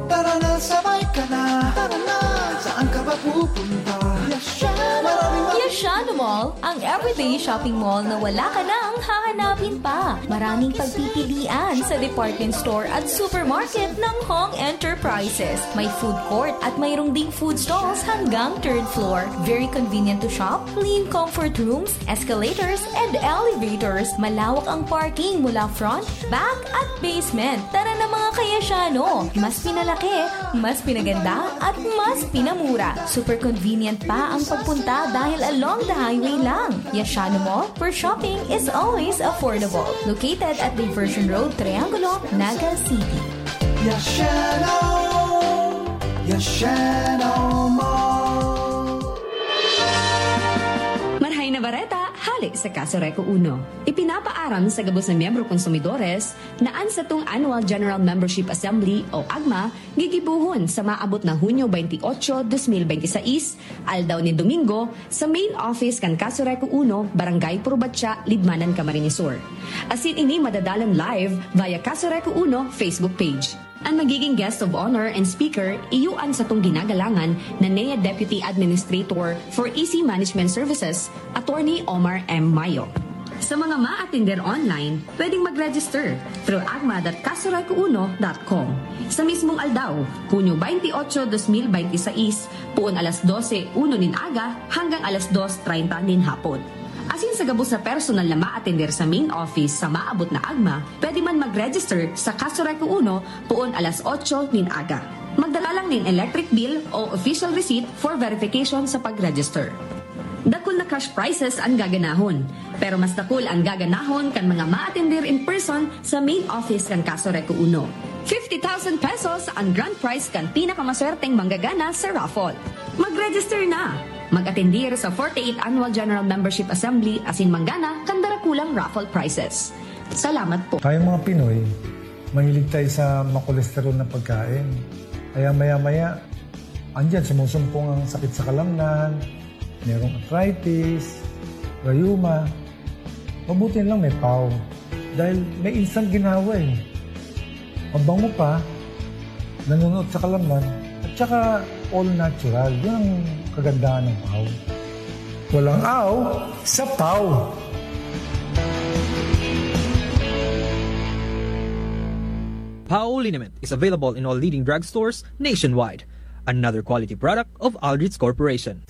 Tara na, sabay ka na. Tara na, saan ka ba pupunta? Yashano! Maraming Yashano Mall, ang everyday shopping mall na wala ka nang hahanapin pa. Maraming pagpipilian sa department store at supermarket ng Hong Enterprises. May food court at mayroong ding food stalls hanggang third floor. Very convenient to shop, clean comfort rooms, escalators, and elevators. Malawak ang parking mula front, back, at basement. Tara na, mga ka-Yashano! Mas pinalaki, mas pinaganda, at mas pinamura. Super convenient pa ang pagpunta dahil along the highway lang. Yashano Mall, where shopping is always affordable. Located at Diversion Road, Triangulo, Naga City. Yashano! Yashano Mall! Marhay na bareta, hale sa Casureco Uno. Ipinapaaram sa gabos na miyembro konsumidores na an satong Annual General Membership Assembly o AGMA gigibohon sa maabot na Hunyo twenty-eight, twenty twenty-six, aldaw nin Domingo, sa main office kan Casureco Uno, Barangay Purbatya, Libmanan, Camarines Sur. Asin ini madadalan live via Casureco Uno Facebook page. An magiging guest of honor and speaker iyo an satong ginagalangan na N E A Deputy Administrator for E C Management Services, Attorney Omar M. Mayo. Sa mga maatender online, pwedeng mag-register through agma dot casureco uno dot com. Sa mismong aldaw, Hunyo twenty-eight, twenty twenty-six, puon alas dose uno nin aga hanggang alas dos treinta nin hapon. Asin sa gabos na personal na maatender sa main office sa maabot na agma, pwede man mag-register sa Casureco Uno puon alas otso nin aga. Magdala lang nin electric bill o official receipt for verification sa pag-register. Dakul na cash prizes an gaganahon, pero mas dakul an gaganahon kan mga maatender in person sa main office kan Casureco Uno. Fifty thousand pesos an grand prize kan pinakamaswerteng manggagana sa raffle. Mag-register na! Mag-atendir sa forty-eighth Annual General Membership Assembly asin manggana kan darakulang raffle prizes. Salamat po. Tayong mga Pinoy, mahilig tayo sa makolesterol na pagkain. Kaya maya-maya, andyan, sumusumpong ang sakit sa kalamnan, merong arthritis, rayuma. Mabuti lang may pau. Dahil may instant ginawa eh. Mabango pa, nanonood sa kalamnan, at saka all natural. Yun ang kagandahan ng pau. Walang aw sa pau. Pau liniment is available in all leading drugstores nationwide. Another quality product of Aldrich Corporation.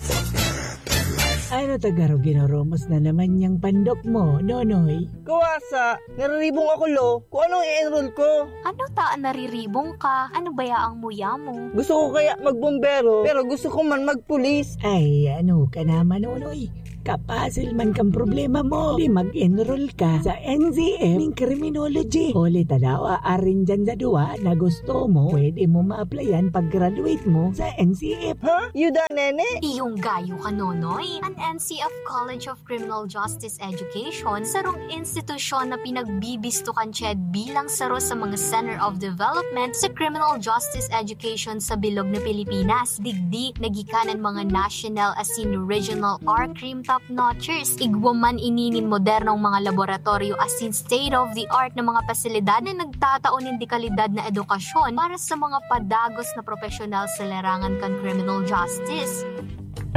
Ano ta garo ginoromos na naman niyang pandok mo, Nonoy? Kawasa, nariribong ako, lo. Kung anong i-enroll ko. Ano ta an nariribong ka? Ano baya ang muya mo? Gusto ko kaya magbombero, pero gusto ko man magpulis. Ay, ano ka naman, Nonoy? Kapasil man kang problema mo. Di mag-enroll ka sa N C F ning criminology. Huli ta daw, arin dyan sa duwa na gusto mo, pwede mo ma-applyan pag-graduate mo sa N C F. Ha? Yuda, nene? Iyong gayo ka, Nonoy. An N C F College of Criminal Justice Education, sarong institusyon na pinagbibisto kan CHED bilang saro sa mga Center of Development sa Criminal Justice Education sa bilog na Pilipinas. Digdi, nagikan an mga national asin regional R-Crim top notchers. Igwa man ini nin modernong mga laboratoryo asin state-of-the-art na mga pasilidad na nagtatao nin dekalidad na edukasyon para sa mga padagos na propesyonal sa larangan kan criminal justice.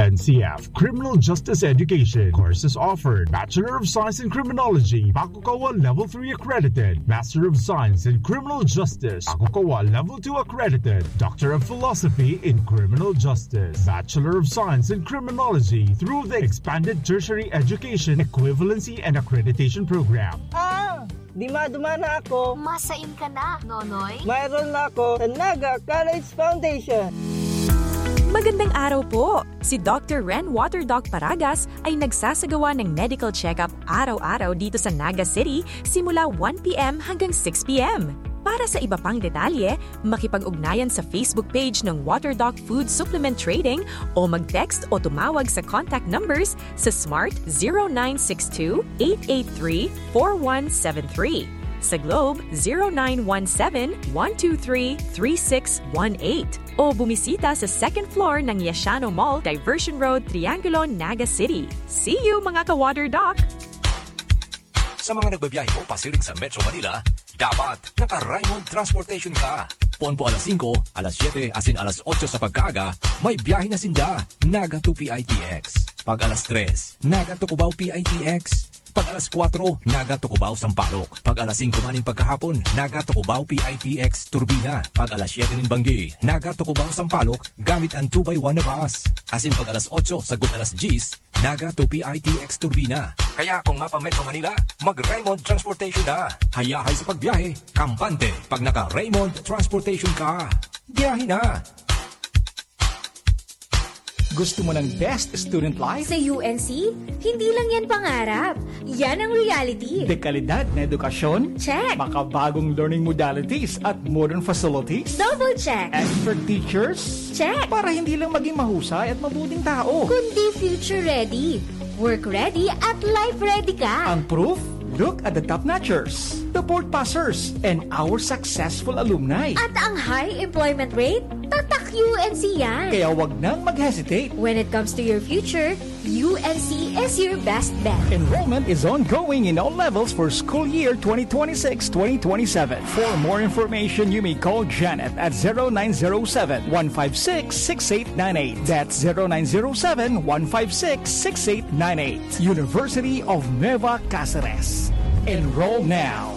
N C F Criminal Justice Education. Courses offered: Bachelor of Science in Criminology, Bakukawa Level three accredited; Master of Science in Criminal Justice, Bakukawa Level two accredited; Doctor of Philosophy in Criminal Justice, Bachelor of Science in Criminology through the Expanded Tertiary Education Equivalency and Accreditation Program. Ah! Di maduma na ako. Masain ka na, Nonoy. Mayroon na ako sa Naga College Foundation. Magandang araw po! Si Doctor Ren Waterdoc Paragas ay nagsasagawa ng medical check-up araw-araw dito sa Naga City simula one p m hanggang six p m. Para sa iba pang detalye, makipag-ugnayan sa Facebook page ng Waterdoc Food Supplement Trading o mag-text o tumawag sa contact numbers sa Smart zero nine six two, eight eight three, four one seven three. Sa Globe, zero nine one seven, one two three, three six one eight. O bumisita sa second floor ng Yashano Mall, Diversion Road, Triangulo, Naga City. See you, mga ka-Water Doc! Sa mga nagbabiyahe po pasiring sa Metro Manila, dapat naka-Raymond Transportation ka. Poon po alas singko, alas siyete, asin alas otso sa pagkaaga, may biyahe na sinda. Naga to P I T X. Pag alas tres, Naga to Cubao P I T X. Pag alas kwatro, Naga to Cubao Sampaloc. Pag alas singko man nin pagkahapon, Naga to Cubao P I T X Turbina. Pag alas siyete nin banggi, Naga to Cubao Sampaloc, gamit an two by one na bus. Asin pag alas otso sagkod alas diyes, Naga to P I T X Turbina. Kaya kung mapa-Metro Manila, mag-Raymond Transportation na. Hayahay sa pagbiyahe, kampante pag naka-Raymond Transportation ka. Biyahe na! Gusto mo ng best student life? Sa U N C, hindi lang yan pangarap. Yan ang reality. Dekalidad na edukasyon? Check. Makabagong learning modalities at modern facilities? Double check. Expert teachers? Check. Para hindi lang maging mahusay at mabuting tao. Kundi future ready, work ready at life ready ka. Ang proof? Look at the top notchers, the board passers, and our successful alumni. At ang high employment rate? Tatak U N C yan. Kaya wag nang mag-hesitate. When it comes to your future, U N C is your best bet. Enrollment is ongoing in all levels for school year twenty twenty-six twenty twenty-seven. For more information, you may call Janet at zero nine zero seven, one five six, six eight nine eight. That's zero nine zero seven, one five six, six eight nine eight. University of Nueva Caceres. Enroll now.